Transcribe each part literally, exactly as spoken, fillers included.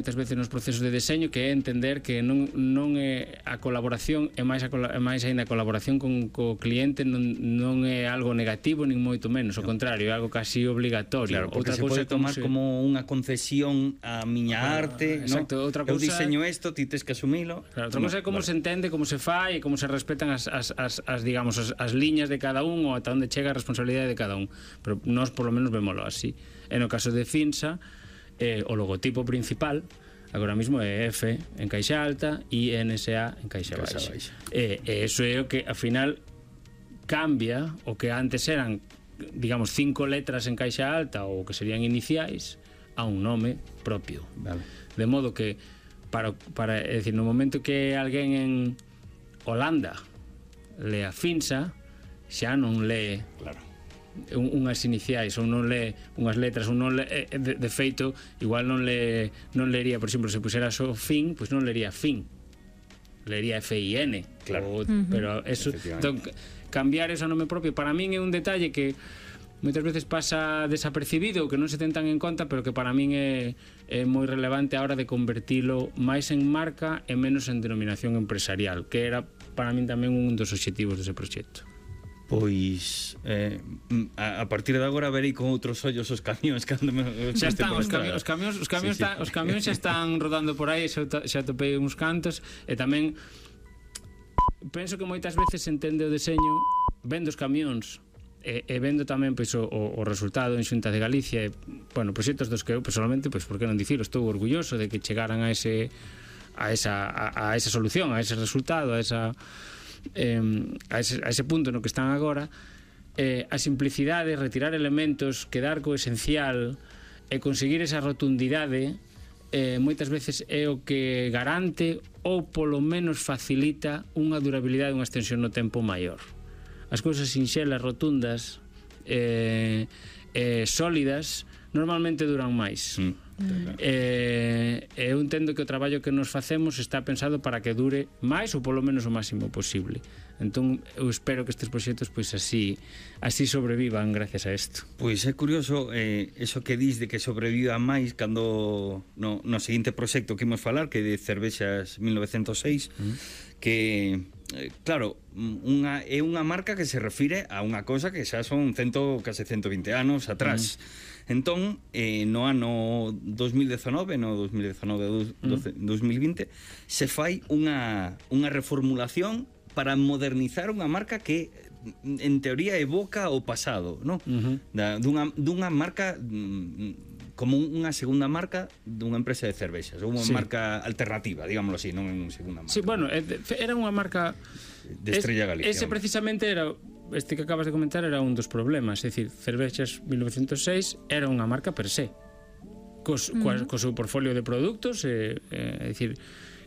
moitas veces nos procesos de deseño, que é entender que non, non é a colaboración, é máis, a, é máis ainda a colaboración con co cliente non, non é algo negativo nin moito menos, ao contrario, é algo casi obligatorio. Claro, porque outra se pode tomar como, se... como unha concesión a miña ah, arte, exacto, ¿no? Outra eu cousa... diseño isto, ti tes que asumilo. Claro, outra cousa é como vale. se entende, como se fai e como se respetan as, as, as, as digamos, as, as liñas de cada un ou ata onde chega a responsabilidade de cada un, pero nós por lo menos vémolo así. E no caso de Finsa, eh, o logotipo principal agora mismo é F en caixa alta e N S A en caixa baixa. baixa. E, e eso é o que, ao final, cambia o que antes eran, digamos, cinco letras en caixa alta ou que serían iniciais a un nome propio. Vale. De modo que, para, para, é dicir, no momento que alguén en Holanda lea Finsa, xa non lee... Claro. unhas iniciais ou non lee unhas letras ou non lee, de, de feito igual non le non lería, por exemplo, se pusera só fin, pois non lería fin, lería F I N, claro. O, uh-huh. Pero eso, entón, cambiar eso a nome propio para min é un detalle que moitas veces pasa desapercibido, que non se ten tan en conta, pero que para min é, é moi relevante a hora de convertilo máis en marca e menos en denominación empresarial, que era para min tamén un dos obxectivos dese proxecto. Pois eh, a, a partir de agora verei con outros ollos os camións cando me, xa están os camións, os camións, os camións, sí, sí. Os camións xa están rodando por aí, xa, xa topei uns cantos e tamén penso que moitas veces se entende o deseño vendo os camións e, e vendo tamén pois, o, o resultado en Xunta de Galicia e, bueno, proxectos dos que eu personalmente, pois, por que non dicilo, estou orgulloso de que chegaran a ese a esa, a, a esa solución, a ese resultado, a esa Eh, a, ese, a ese punto no que están agora, eh, a simplicidade, retirar elementos, quedar co esencial e conseguir esa rotundidade eh, moitas veces é o que garante ou polo menos facilita unha durabilidade, unha extensión no tempo maior. As cousas sinxelas, rotundas, eh, eh, sólidas normalmente duran máis. Mm. Eh, eu entendo que o traballo que nos facemos está pensado para que dure máis ou polo menos o máximo posible. Entón eu espero que estes proxectos pois así así sobrevivan gracias a isto. Pois é curioso eh, eso que dis de que sobreviva máis cando no, no seguinte proxecto que imos falar, que é de Cervexas mil novecentos seis, mm. que eh, claro, unha, é unha marca que se refire a unha cosa que xa son cento, case ciento vinte anos atrás. Mm. Entón, eh, no ano dos mil dezanove, no dos mil dezanove a dos mil vinte, se fai unha, unha reformulación para modernizar unha marca que en teoría evoca o pasado, ¿no? Uh-huh. Da, dunha, dunha marca mm, como unha segunda marca dunha empresa de cervexas, ou unha sí. marca alternativa, digámoslo así, non unha segunda marca. Sí, bueno, era unha marca de Estrella Galicia. Ese precisamente era, este que acabas de comentar era un dos problemas, é dicir, Cervexas mil novecentos seis era unha marca per se, cos, uh-huh. co, co seu portfolio de produtos, é, é, é dicir,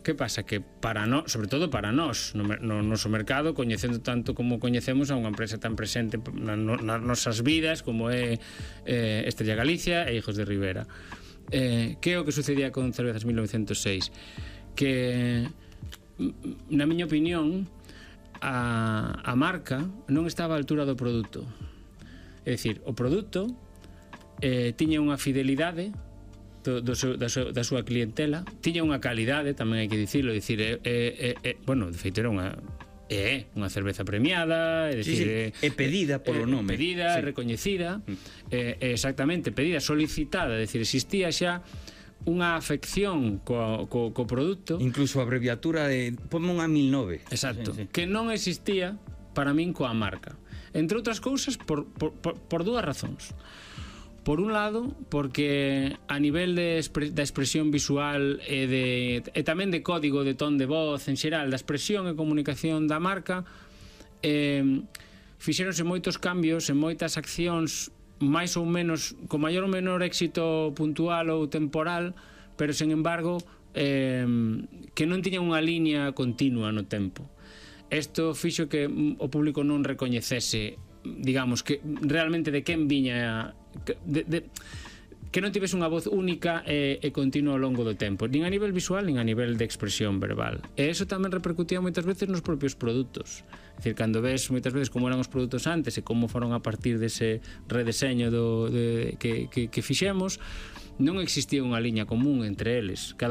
que pasa? Que para nós, sobre todo para nós, no, no noso mercado, coñecendo tanto como coñecemos a unha empresa tan presente na, no, nas nosas vidas como é eh, Estrella Galicia e Hijos de Ribera. Eh, que é o que sucedía con Cervezas mil novecentos seis? Que, na miña opinión, a, a marca non estaba á altura do produto. É dicir, o produto eh, tiña unha fidelidade Do, do seu, da, seu, da súa clientela, tiña unha calidade, tamén hai que dicirlo, dicir, é, é, é, bueno, de feito era unha é unha cerveza premiada, é dicir, sí, sí. é, é pedida polo nome, é pedida, sí. recoñecida, é, é exactamente, pedida, solicitada, é dicir, existía xa unha afección co, co, co produto, incluso a abreviatura de ponme unha mil nove, exacto, sí, sí. que non existía para min coa marca, entre outras cousas por, por, por, por dúas razóns. Por un lado, porque a nivel de expre, da expresión visual e, de, e tamén de código de ton de voz en xeral, da expresión e comunicación da marca, eh, fixéronse moitos cambios en moitas accións máis ou menos, con maior ou menor éxito puntual ou temporal, pero sen embargo eh, que non tiñan unha liña continua no tempo. Isto fixo que o público non recoñecese, digamos, que realmente de quen viña, de, de, que non tivese unha voz única e, e continua ao longo do tempo, nin a nivel visual nin a nivel de expresión verbal. E eso tamén repercutía moitas veces nos propios produtos. É dicir, cando ves moitas veces como eran os produtos antes e como foron a partir dese redeseño do, de, que, que, que fixemos, non existía unha liña común entre eles. Cada